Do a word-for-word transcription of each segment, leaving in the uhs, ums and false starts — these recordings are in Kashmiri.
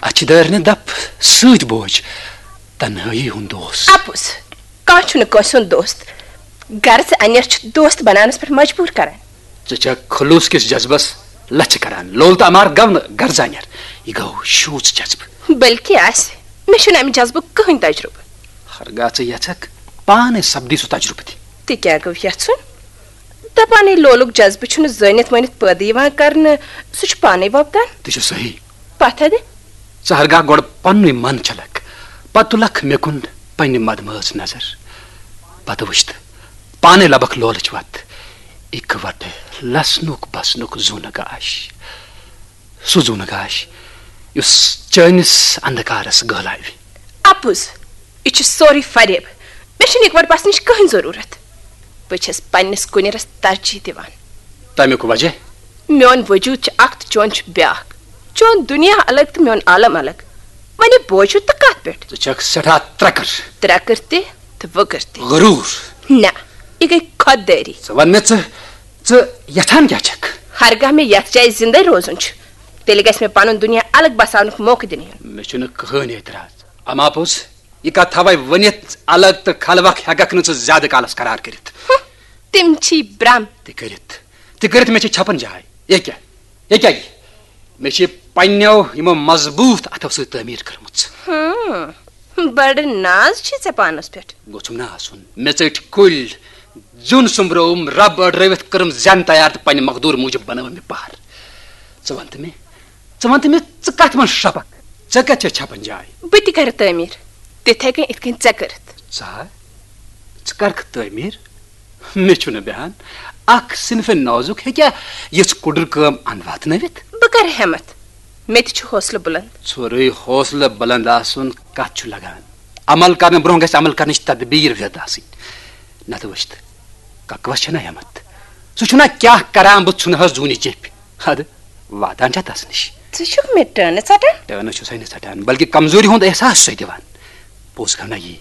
اچھِ دٲرنہِ دپ سۭتۍ بوج تنہٲیی ہُنٛد دوس۔ اپُز، کانٛہہ چھُنہٕ کٲنٛسہِ ہُنٛد دوست۔ غرض انیر چھُ دوست بناونس پٮ۪ٹھ مجبوٗر کران۔ ژٕ چھکھ خلوص کِس جذبس لژھِ کران۔ لول تہٕ امار گوٚو نہٕ غرض انیر، یہِ گوٚو شوٗژ جذبہٕ۔ بلکہِ آسہِ، مےٚ چھُنہٕ امہِ جذبُک کٕہٕنۍ تجرُبہٕ۔ ہرگاہ ژٕ یژھکھ، پانے سپدی سُہ تجرُبہٕ تہِ۔ تہِ کیٛاہ گوٚو یژھُن؟ دپانے لولُک جذبہٕ چھُنہٕ زٲنِتھ مٲنِتھ پٲدٕ یِوان کرنہٕ، سُہ چھُ پانے وۄپدان۔ تہِ چھُ صحیح۔ پتھٕ دِ۔ ژٕ ہرگاہ گۄڈٕ پننُے من چھلکھ، پتہٕ تُلکھ مےٚ کُن پننہِ مدمٲژ نظر۔ پتہٕ وٕچھ تہٕ پانے لبکھ لولٕچ وتھ۔ اِکہٕ وٹہٕ لسنُک بسنُک زوٗنہٕ گاش۔ سُہ زوٗنہٕ گاش، یُس چٲنِس اندھکارس گٲلاوِ۔ اپُز، یہِ چھُ سورُے فریب۔ مےٚ چھُنہٕ اِکہٕ وٹہٕ بسنٕچ کٕہٕنۍ ضروٗرت۔ بہٕ چھَس پننِس کُنِرس ترجیح دِوان۔ تَمیُک وجہ؟ میون وجود چھُ اکھ تہٕ چون چھُ بیاکھ۔ چون دُنیا الگ تہٕ میون عالم الگ۔ وۄنۍ بوزِو تہٕ کتھ پٮ۪ٹھ؟ ژٕ چھکھ سٮ۪ٹھاہ ترٛکٕر۔ ترٛکٕر تہِ تہٕ وٕکٕر تہِ۔ غروٗر۔ نہ، یہِ گٔے خۄد دٲری۔ ژٕ وَن مےٚ، ژٕ، ژٕ یژھان کیٛاہ چھکھ؟ ہرگاہ مےٚ یتھ جایہِ زندے روزُن چھُ، تیٚلہِ گژھِ مےٚ پنُن دُنیا الگ بساونُک موقعہٕ دِنہٕ یُن۔ مےٚ چھُنہٕ کٕہٕنۍ اعتراض۔ اما پوٚز، یہِ کتھ تھاوے ؤنِتھ الگ تہٕ خلوق ہٮ۪ککھ نہٕ ژٕ زیادٕ کالس قرار کٔرِتھ۔ ہُہ، تِم چھی برم۔ تہِ کٔرِتھ، تہِ کٔرِتھ مےٚ چھِ چھپن جاے۔ یہِ کیٛاہ؟ یہِ کیٛاہ یہِ؟ مےٚ چھِ پننیو یِمو مضبوٗط اتھو سۭتۍ تعمیٖر کٔرمٕژ۔ ہاں، بڑٕ ناز چھُے ژےٚ پانس پٮ۪ٹھ۔ گوٚژھُم نہٕ آسُن۔ مےٚ ژٔٹۍ کُلۍ، زیُن سوٚمبرووُم، رب أڑرٲوِتھ کٔرٕم زٮ۪ن تیار تہٕ پننہِ مقدوٗر موٗجب بنٲوٕم یہِ پہر۔ ژٕ وَن تہٕ مےٚ، ژٕ وَن تہٕ مےٚ، ژٕ کتھ منٛز شرپکھ؟ ژےٚ کتہِ چھےٚ چھپن جاے؟ بہٕ تہِ کرٕ تعمیٖر، تِتھے کٔنۍ، یِتھ کٔنۍ ژےٚ کٔرٕتھ۔ ژٕ ہا؟ ژٕ کرکھ تعمیٖر؟ مےٚ چھُنہٕ بیہان۔ اکھ صنفِ نازُک ہیٚکیٛاہ یِژھ کُڈٕر کٲم اندٕ واتنٲوِتھ؟ بہٕ کرٕ ہٮ۪متھ۔ مےٚ تہِ چھُ حوصلہٕ بُلند۔ ژھورُے حوصلہٕ بُلند آسُن کتھ چھُ لگان؟ عمل کرنہٕ برونٛہہ گژھِ عمل کرنٕچ تدبیٖر وِد آسٕنۍ۔ نتہٕ وٕچھ تہٕ، ککوس چھےٚ نہ ہٮ۪متھ۔ سُہ چھُنہ کیٛاہ کران، بہٕ ژھُنہٕ ہس زوٗنہِ چیٚپھِ۔ ادٕ واتان چھا تس نِش؟ ژٕ چھُکھ مےٚ ٹٲنہٕ ژٹان؟ ٹٲنہٕ چھُسے نہٕ ژٹان، بلکہِ کمزوری ہُنٛد احساس چھُسے دِوان۔ پوٚز گوٚو نہ یی،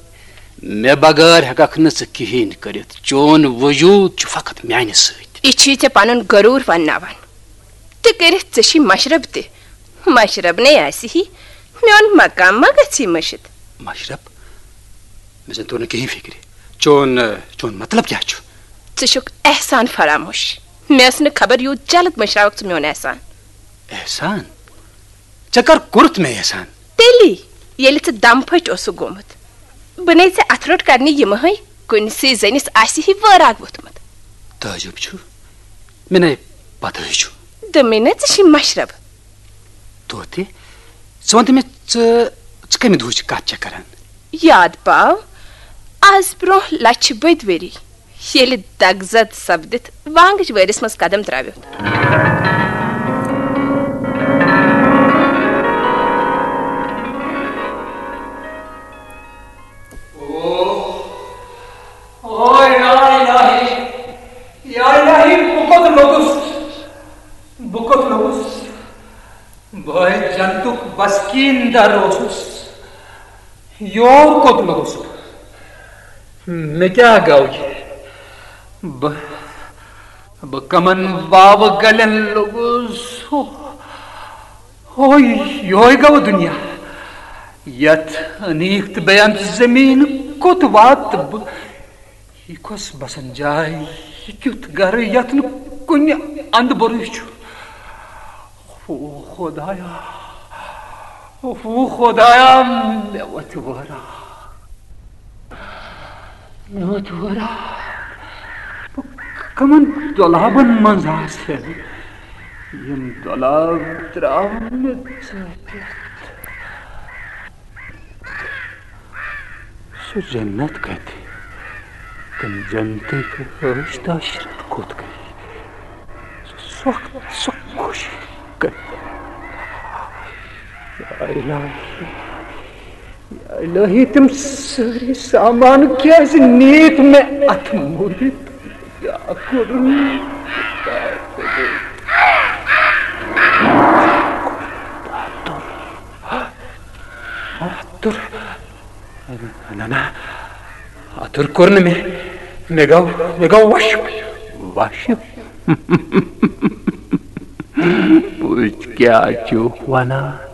مےٚ بغٲر ہٮ۪ککھ نہٕ ژٕ کِہیٖنۍ کٔرِتھ۔ چون وجوٗد چھُ فقط میانہِ سۭتۍ۔ یہِ چھُے ژےٚ پنُن غروٗر ونناوان۔ تہِ کٔرِتھ ژےٚ چھُے مشرب تہِ۔ مشرب نے آسہِ ہی، میون مقام ما گژھی مٔشِتھ؟ مشرب؟ مےٚ زن توٚر نہٕ کِہیٖنۍ فِکرِ۔ چون، چون مطلب کیٛاہ چھُ؟ ژٕ چھُکھ احسان فراموش۔ مےٚ ٲس نہٕ خبر یوٗت جلد مٔشراوکھ ژٕ میون احسان۔ احسان؟ ژےٚ کر کوٚرُتھ مےٚ احسان؟ تیٚلی، ییٚلہِ ژٕ دم پھٔٹۍ اوسُکھ گوٚمُت۔ بہٕ نے ژےٚ اتھٕ روٚٹ کرنہِ یِمہٕ ہَے، کُنسٕے زٔنِس آسہِ ہی وٲراگ ووٚتھمُت۔ تعجب چھُ، مےٚ نے پتہٕے چھُ۔ دوٚپمَے نہ، ژٕ چھے مشرب۔ طوطہِ، ژٕ وَن تہٕ مےٚ، ژٕ، ژٕ کَمہِ دۄہٕچ کَتھ چھَکھ کَران؟ یاد پاو، آز برونٛہہ لَچھِ بٔدۍ ؤری، ییٚلہِ دگزد سپدِتھ وانگٕچ وٲرِس منٛز قدم ترٛاویوٚتھ۔ اوے یا الہی، یا الہی، بہٕ کوٚت لوٚگُس؟ بہٕ کوٚت لوٚگُس؟ بہٕ ہے جنتُک بسکیٖن در اوسُس۔ یور کوٚت لوٚگُس بہٕ؟ مےٚ کیٛاہ گوٚو یہِ؟ بہٕ، بہٕ کمن واوٕ گلٮ۪ن لوٚگُس؟ ہو، ہو، یِہوٚے گوٚو دُنیا۔ یتھ انیٖک تہٕ بے انت زمیٖن کوٚت واتہٕ بہٕ؟ یہِ کۄس بسن جاے، یہِ کیُتھ گرٕ یتھ نہٕ کُنہِ اندٕ بوٚرُے چھُ؟ او خدایا، او خدایا، مےٚ وتھِ وٲرا، مےٚ وتھِ وٲرا۔ بہٕ کمن دۄلابن منٛز آسہٕ، یِم دۄلاب ترٛاوَن مےٚ ژٔٹِتھ۔ سُہ جنت کتہِ؟ تِم جنتٕکۍ عٲش تہٕ عشرت کوٚت گٔے؟ سُہ سۄکھ، سۄ خوشی کتہِ؟ یا الہی، یا الہی، تِم سٲری سامان کیازِ نِتھ مےٚ اتھ مٔرِتھ؟ یا کوٚرُن؟ اتُر۔ نہ، نہ، اتُر کوٚر نہٕ مےٚ۔ مےٚ گوٚو، مےٚ گوٚو وشُک۔ وشُک؟ وٕچھ کیٛاہ چھُکھ ونان۔